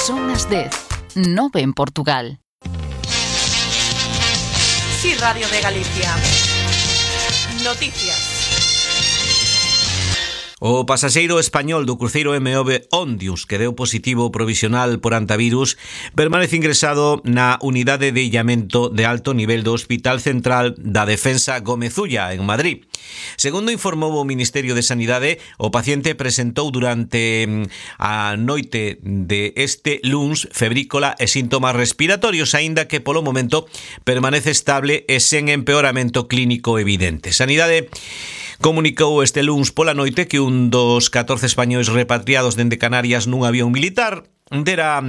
Son as 10, 9 en Portugal. Sí, Radio de Galicia. Noticias. O pasaxeiro español do cruceiro MV Ondius, que deu positivo provisional por antivirus, permanece ingresado na unidade de illamento de alto nivel do Hospital Central da Defensa Gómez Ulla, en Madrid. Segundo informou o Ministerio de Sanidade, o paciente presentou durante a noite de este luns febrícola e síntomas respiratorios, aínda que polo momento permanece estable e sen empeoramento clínico evidente. Sanidade comunicou este luns pola noite que un dos 14 españois repatriados dende Canarias nun avión militar dera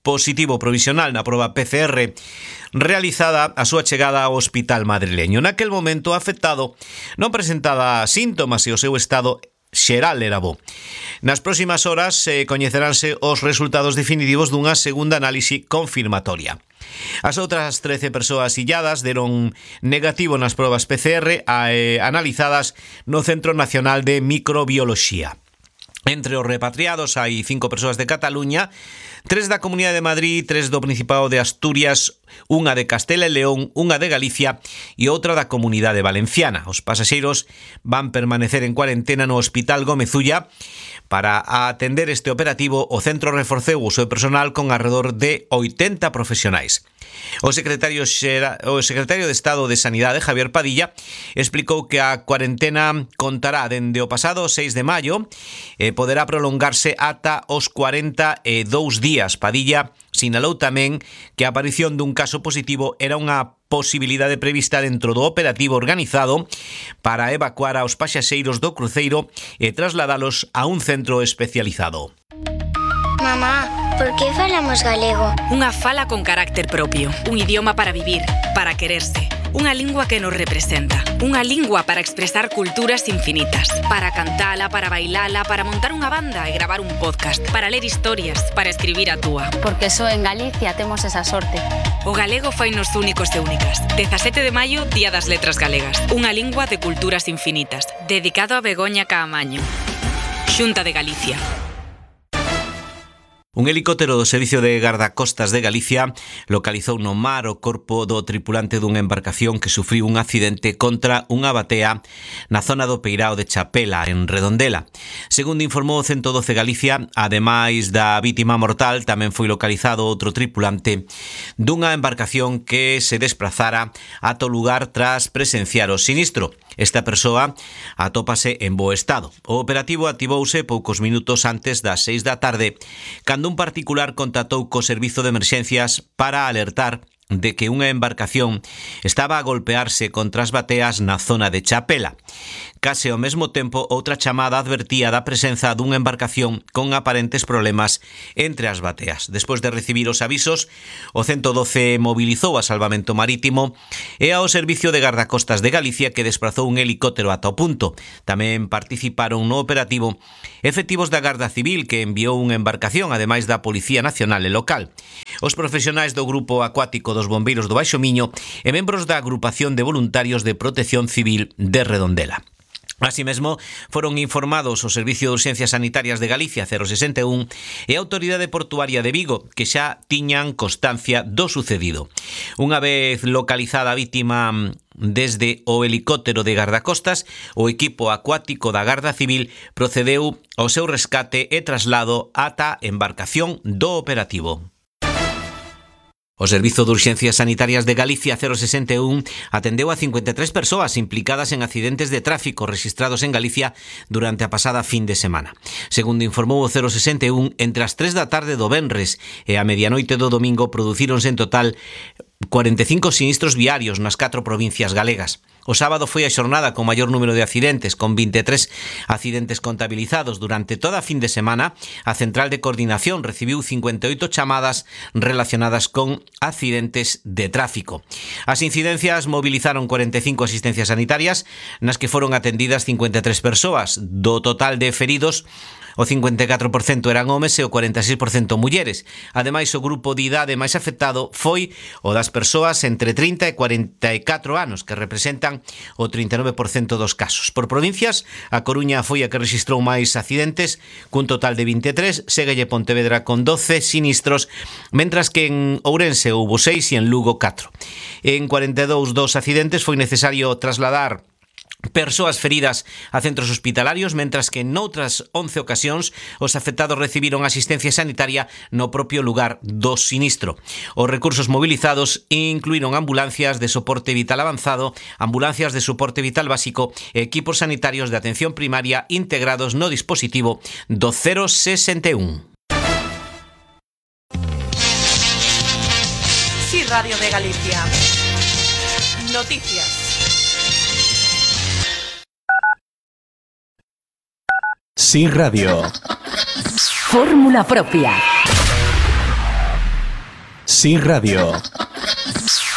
positivo provisional na proba PCR realizada a súa chegada ao hospital madrileño. Naquel momento, afectado non presentaba síntomas e o seu estado xeral era bo. Nas próximas horas coñeceránse os resultados definitivos dunha segunda análise confirmatoria. As outras 13 persoas illadas deron negativo nas probas PCR analizadas no Centro Nacional de Microbioloxía. Entre os repatriados hai 5 persoas de Cataluña, 3 da Comunidade de Madrid, 3 do Principado de Asturias, unha de Castela e León, unha de Galicia e outra da Comunidade Valenciana. Os pasaxeiros van permanecer en cuarentena no Hospital Gómez Ulla. Para atender este operativo, o centro reforceu o seu personal con alrededor de 80 profesionais. O secretario de Estado de Sanidade, Javier Padilla, explicou que a cuarentena contará dende o pasado 6 de maio e poderá prolongarse ata os 42 días. Padilla sinalou tamén que a aparición dun caso positivo era unha posibilidade prevista dentro do operativo organizado para evacuar aos pasaxeiros do cruceiro e trasladalos a un centro especializado. Mamá, por que falamos galego? Unha fala con carácter propio, un idioma para vivir, para quererse, unha lingua que nos representa, unha lingua para expresar culturas infinitas, para cantala, para bailala, para montar unha banda e gravar un podcast, para ler historias, para escribir a túa. Porque só en Galicia temos esa sorte. O galego fainos únicos e únicas. 17 de maio, Día das Letras Galegas. Unha lingua de culturas infinitas. Dedicado a Begoña Caamaño. Xunta de Galicia. Un helicóptero do Servicio de Gardacostas de Galicia localizou no mar o corpo do tripulante dunha embarcación que sufriu un accidente contra unha batea na zona do Peirao de Chapela, en Redondela. Segundo informou o 112 Galicia, ademais da vítima mortal, tamén foi localizado outro tripulante dunha embarcación que se desprazara ata o lugar tras presenciar o sinistro. Esta persoa atópase en bo estado. O operativo activouse poucos minutos antes das 6 da tarde, cando un particular contactou co servizo de emerxencias para alertar de que unha embarcación estaba a golpearse contra as bateas na zona de Chapela. Case ao mesmo tempo, outra chamada advertía da presenza dunha embarcación con aparentes problemas entre as bateas. Despois de recibir os avisos, o 112 mobilizou a Salvamento Marítimo e ao Servicio de Gardacostas de Galicia, que desprazou un helicóptero ata o punto. Tamén participaron no operativo efectivos da Garda Civil, que enviou unha embarcación, ademais da Policía Nacional e local. Os profesionais do Grupo Acuático dos Bombeiros do Baixo Miño e membros da Agrupación de Voluntarios de Protección Civil de Redondela. Así mesmo, foron informados o Servicio de Urxencias Sanitarias de Galicia 061 e a Autoridade Portuaria de Vigo, que xa tiñan constancia do sucedido. Unha vez localizada a vítima desde o helicóptero de gardacostas, o equipo acuático da Garda Civil procedeu ao seu rescate e traslado ata embarcación do operativo. O Servizo de Urxencias Sanitarias de Galicia 061 atendeu a 53 persoas implicadas en accidentes de tráfico rexistrados en Galicia durante a pasada fin de semana. Segundo informou o 061, entre as 3 da tarde do venres e a medianoite do domingo producíronse en total 45 sinistros viarios nas 4 provincias galegas. O sábado foi a xornada con maior número de accidentes, con 23 accidentes contabilizados. Durante toda a fin de semana, a Central de Coordinación recibiu 58 chamadas relacionadas con accidentes de tráfico. As incidencias movilizaron 45 asistencias sanitarias, nas que foron atendidas 53 persoas. Do total de feridos, O 54% eran homes e o 46% mulleres. Ademais, o grupo de idade máis afectado foi o das persoas entre 30 e 44 anos, que representan o 39% dos casos. Por provincias, a Coruña foi a que rexistrou máis accidentes, cun total de 23, séguelle Pontevedra con 12 sinistros, mentras que en Ourense houbo 6 e en Lugo 4. En 42 dos accidentes foi necesario trasladar persoas feridas a centros hospitalarios, mentras que noutras 11 ocasións os afectados recibiron asistencia sanitaria no propio lugar do sinistro. Os recursos movilizados incluíron ambulancias de soporte vital avanzado, ambulancias de soporte vital básico e equipos sanitarios de atención primaria integrados no dispositivo do 061. Sí, Radio de Galicia. Noticias. Sí Radio. Fórmula propia. Sí Radio.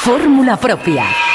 Fórmula propia.